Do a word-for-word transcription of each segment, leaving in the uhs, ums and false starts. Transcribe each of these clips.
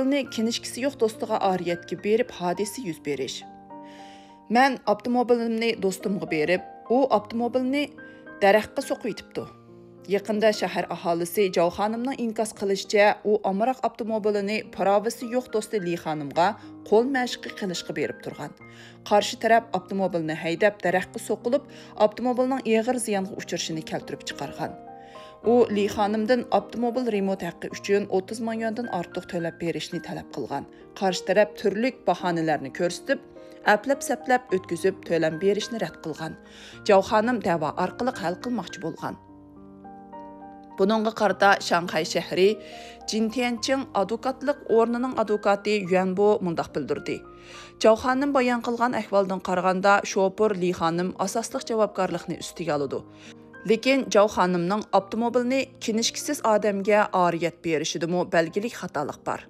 ئاپتوموبىلنى كىنىشكىسى يوق دوستىغا ئارىيەتكە بېرىپ، ھادىسە يۈز بېرىش. مەن ئاپتوموبىلىمنى دوستۇمغا بېرىپ، ئۇ ئاپتوموبىلنى دەرەخكە سوقۇۋېتىپتۇ. يېقىندا شەھەر ئاھالىسى جاۋ خانىمنىڭ ئىنكاس قىلىشىچە، ئۇ ئامراق ئاپتوموبىلىنى پىراۋىسى يوق دوستى لى خانىمغا قول مەشىقى قىلىشقا بېرىپ تۇرغان. قارشى تەرەپ ئاپتوموبىلنى ھەيدەپ، دەرەخكە سوقۇلۇپ، ئاپتوموبىلنىڭ ئېغىر زىيانغا ئۇچرىشىنى كەلتۈرۈپ چىقارغان. ئۇ لى خانىمدىن ئاپتوموبىل رېمونت ھەققى ئۈچۈن ئوتتۇز مىڭ يۈەندىن ئارتۇق تۆلەپ بېرىشنى تەلەپ قىلغان. قارشى تەرەپ تۈرلۈك باھانىلەرنى كۆرسىتىپ، ئەپلەپ-سەپلەپ ئۆتكۈزۈپ تۆلەم بېرىشنى رەت قىلغان. جاۋ خانىم دەۋا ئارقىلىق ھەل قىلماقچى بولغان. بۇنىڭغا قارىتا شاڭخەي شەھىرى جىنتيەنچىڭ ئادۋوكاتلىق ئورنىنىڭ ئادۋوكاتى يۈەنبو مۇنداق بىلدۈردى: جاۋ خانىم بايان قىلغان ئەھۋالدىن قارىغاندا، شوپۇر لى خانىم ئاساسلىق جاۋابكارلىقنى ئۈستىگە ئالىدۇ. لېكىن جاۋ خانىمنىڭ ئاپتوموبىلنى كىنىشكىسىز ئادەمگە ئارىيەت بېرىشىدىمۇ بەلگىلىك خاتالىق بار.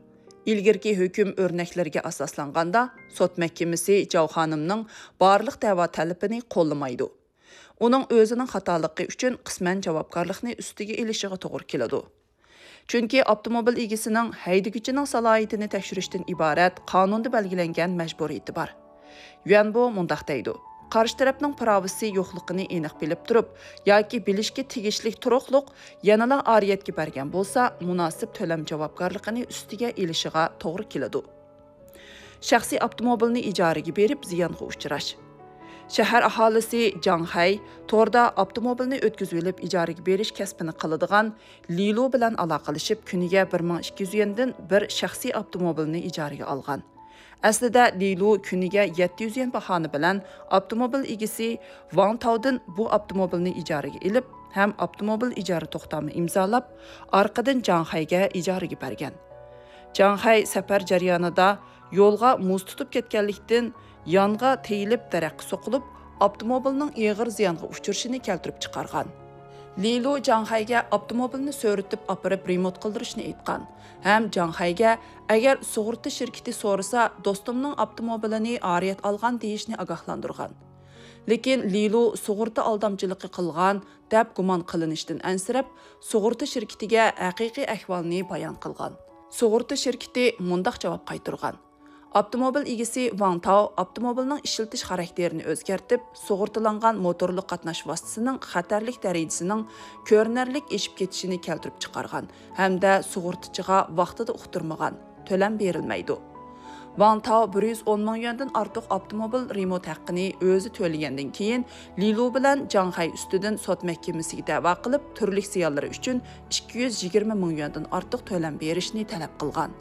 ئىلگىرىكى ھۆكۈم ئۆرنەكلىرىگە ئاساسلانغاندا، سوت مەھكىمىسى جاۋ خانىمنىڭ بارلىق دەۋا تەلىپىنى قوللىمايدۇ. ئۇنىڭ ئۆزىنىڭ خاتالىقى ئۈچۈن قىسمەن جاۋابكارلىقنى ئۈستىگە ئېلىشىغا توغرا كېلىدۇ. چۈنكى ئاپتوموبىل ئىگىسىنىڭ ھەيدىگۈچىنىڭ سالاھىيىتىنى تەكشۈرۈشتىن ئىبارەت قانۇندا بەلگىلەنگەن مەجبۇرىيىتى بار. يۈەنبو مۇنداق دەيدۇ: قارشى تەرەپنىڭ پىراۋىسى يوقلۇقىنى ئېنىق بىلىپ تۇرۇپ ياكى بىلىشكە تېگىشلىك تۇرۇقلۇق يەنىلا ئارىيەتكە بەرگەن بولسا، مۇناسىپ تۆلەم جاۋابكارلىقىنى ئۈستىگە ئېلىشىغا توغرا كېلىدۇ. شەخسىي ئاپتوموبىلنى ئىجارىگە بېرىپ زىيانغا ئۇچراش. شەھەر ئاھالىسى جاڭ خەي توردا ئاپتوموبىلنى ئۆتكۈزۈۋېلىپ ئىجارىگە بېرىش كەسپىنى قىلىدىغان لىلۇ بىلەن ئالاقىلىشىپ، كۈنىگە بىر مىڭ ئىككى يۈز يۈەندىن بىر شەخسىي ئاپتوموبىلنى ئىجارىگە ئالغان. ئەسلىدە لىلۇ كۈنىگە يەتتە يۈز يۈەن باھانە بىلەن ئاپتوموبىل ئىگىسى ۋاڭ تاۋدىن بۇ ئاپتوموبىلنى ئىجارىگە ئېلىپ ھەم ئاپتوموبىل ئىجارە توختامى ئىمزالاپ، ئارقىدىن جاڭ خەيگە ئىجارىگە بەرگەن. جاڭ خەي سەپەر جەريانىدا يولغا مۇز تۇتۇپ كەتكەنلىكتىن، يانغا تېيىلىپ دەرەخكە سوقۇلۇپ، ئاپتوموبىلنىڭ ئېغىر زىيانغا ئۇچرىشىنى كەلتۈرۈپ چىقارغان. لىلۇ جاڭ خەيگە ئاپتوموبىلنى سۆرىتىپ ئاپىرىپ رېمونت قىلدۇرۇشنى ئېيتقان ھەم جاڭ خەيگە، ئەگەر سۇغۇرتا شىركىتى سورىسا، دوستۇمنىڭ ئاپتوموبىلىنى ئارىيەت ئالغان دېيىشنى ئاگاھلاندۇرغان. لېكىن لىلۇ سۇغۇرتا ئالدامچىلىقى قىلغان دەپ گۇمان قىلىنىشتىن ئەنسىرەپ، سۇغۇرتا شىركىتىگە ھەقىقىي ئەھۋالنى بايان قىلغان. سۇغۇرتا شىركىتى مۇنداق جاۋاب قايتۇرغان: ئاپتوموبىل ئىگىسى ۋاڭ تاۋ ئاپتوموبىلنىڭ ئىشلىتىش خاراكتېرىنى ئۆزگەرتىپ، سۇغۇرتىلانغان موتورلۇق قاتناش ۋاسىتىسىنىڭ خەتەرلىك دەرىجىسىنىڭ كۆرۈنەرلىك ئېشىپ كېتىشىنى كەلتۈرۈپ چىقارغان ھەمدە سۇغۇرتىچىغا ۋاقتىدا ئۇقتۇرمىغان، تۆلەم بېرىلمەيدۇ. ۋاڭ تاۋ بىر يۈز ئون مىڭ يۈەندىن ئارتۇق ئاپتوموبىل رېمونت ھەققىنى ئۆزى تۆلىگەندىن كېيىن، لىلۇ بىلەن جاڭ خەي ئۈستىدىن سوت مەھكىمىسىگە دەۋا قىلىپ، تۈرلۈك زىيانلىرى ئۈچۈن ئىككى يۈز يىگىرمە مىڭ يۈەندىن ئارتۇق تۆلەم بېرىشنى تەلەپ قىلغان.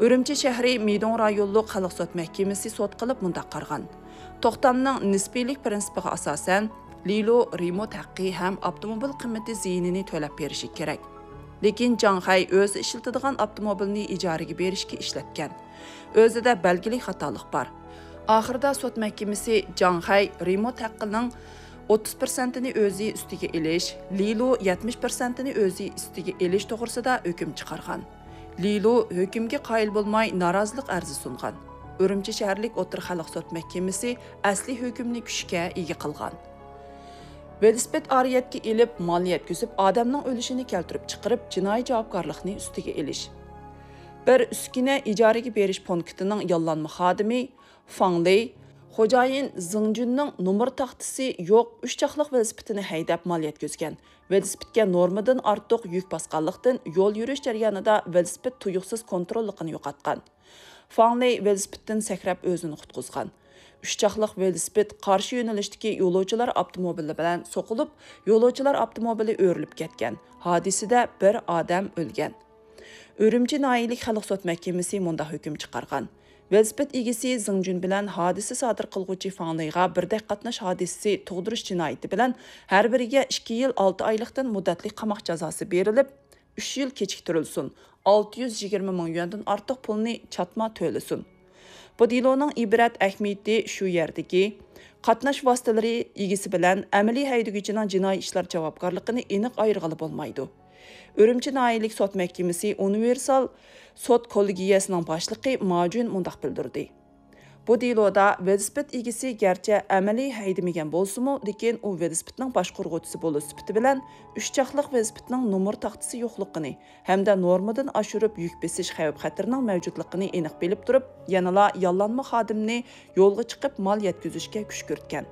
ئۈرۈمچى شەھىرى مىدوڭ رايونلۇق خەلق سوت مەھكىمىسى سوت قىلىپ مۇنداق قارىغان: توختامنىڭ نىسپىيلىك پىرىنسىپىغا ئاساسەن، لىلۇ رېمونت ھەققى ھەم ئاپتوموبىل قىممىتى زىيىنىنى تۆلەپ بېرىشى كېرەك. لېكىن جاڭ خەي ئۆزى ئىشلىتىدىغان ئاپتوموبىلنى ئىجارىگە بېرىشكە ئىشلەتكەن. ئۆزىدە بەلگىلىك خاتالىق بار. ئاخىرىدا سوت مەھكىمىسى جاڭ خەي رېمونت ھەققىنىڭ ئوتتۇز پىرسەنتىنى ئۆزى ئۈستىگە ئېلىش، لىلۇ يەتمىش پىرسەنتىنى ئۆزى ئۈستىگە ئېلىش توغرىسىدا ھۆكۈم چىقارغان. لىلۇ ھۆكۈمگە قايىل بولماي نارازىلىق ئەرزى سۇنغان. ئۈرۈمچى شەھەرلىك ئوتتۇرا خەلق سوت مەھكىمىسى ئەسلى ھۆكۈمنى كۈچكە ئىگە قىلغان. ۋېلىسىپىت ئارىيەتكە ئېلىپ، مال يەتكۈزۈپ، ئادەمنىڭ ئۆلۈشىنى كەلتۈرۈپ چىقىرىپ، جىنايى جاۋابكارلىقنى ئۈستىگە ئېلىش. بىر ئۈسكۈنە ئىجارىگە بېرىش پونكىتىنىڭ ياللانما خادىمى فاڭ لېي، خوجايىن زېڭ جۈننىڭ نومۇر تاختىسى يوق ئۈچ چاقلىق ۋېلىسىپىتىنى ھەيدەپ مال يەتكۈزگەن. ۋېلىسىپىتكە نورمىدىن ئارتۇق يۈك باسقانلىقتىن، يول يۈرۈش جەريانىدا ۋېلىسىپىت تۇيۇقسىز كونتروللۇقىنى يوقاتقان. فاڭ لېي ۋېلىسىپىتتىن سەكرەپ ئۆزىنى قۇتقۇزغان. ئۈچ چاقلىق ۋېلىسىپىت قارشى يۆنىلىشتىكى يولۇچىلار ئاپتوموبىلى بىلەن سوقۇلۇپ، يولۇچىلار ئاپتوموبىلى ئۆرۈلۈپ كەتكەن. ھادىسىدە بىر ئادەم ئۆلگەن. ئۈرۈمچى ناھىيەلىك خەلق سوت مەھكىمىسى مۇنداق ھۆكۈم چىقارغان: ۋېلىسىپىت ئىگىسى زېڭ جۈن بىلەن ھادىسە سادىر قىلغۇچى فاڭ لېيغا بىردەك قاتناش ھادىسىسى تۇغدۇرۇش جىنايىتى بىلەن ھەر بىرىگە ئىككى يىل ئالتە ئايلىقتىن مۇددەتلىك قاماق جازاسى بېرىلىپ، ئۈچ يىل كېچىكتۈرۈلسۇن، ئالتە يۈز يىگىرمە مىڭ يۈەندىن ئارتۇق پۇلنى چاتما تۆلىسۇن. بۇ دېلونىڭ ئىبرەت ئەھمىيىتى شۇ يەردىكى، قاتناش ۋاسىتىلىرى ئىگىسى بىلەن ئەمەلىي ھەيدىگۈچىنىڭ جىنايى ئىشلار جاۋابكارلىقىنى ئېنىق ئايرىغىلى بولمايدۇ. ئۈرۈمچى ناھىيەلىك سوت مەھكىمىسى ئۇنىۋېرسال سوت كوللېگىيەسىنىڭ باشلىقى ما جۈن مۇنداق بىلدۈردى: بۇ دېلودا ۋېلىسىپىت ئىگىسى گەرچە ئەمەلىي ھەيدىمىگەن بولسىمۇ، لېكىن ئۇ ۋېلىسىپىتنىڭ باشقۇرغۇچىسى بولۇش سۈپىتى بىلەن ئۈچ چاقلىق ۋېلىسىپىتنىڭ نومۇر تاختىسى يوقلۇقىنى ھەمدە نورمىدىن ئاشۇرۇپ يۈك بېسىش خەۋپ-خەتىرىنىڭ مەۋجۇتلۇقىنى ئېنىق بىلىپ تۇرۇپ، يەنىلا ياللانما خادىمنى يولغا چىقىپ مال يەتكۈزۈشكە كۈشكۈرتكەن.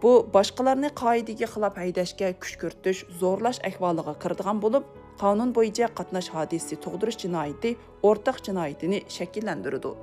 بۇ باشقىلارنى قائىدىگە خىلاپ ھەيدەشكە كۈشكۈرتۈش، زورلاش ئەھۋالىغا كىرىدىغان بولۇپ، قانۇن بويىچە قاتناش ھادىسىسى تۇغدۇرۇش جىنايىتى ئورتاق جىنايىتىنى شەكىللەندۈرىدۇ.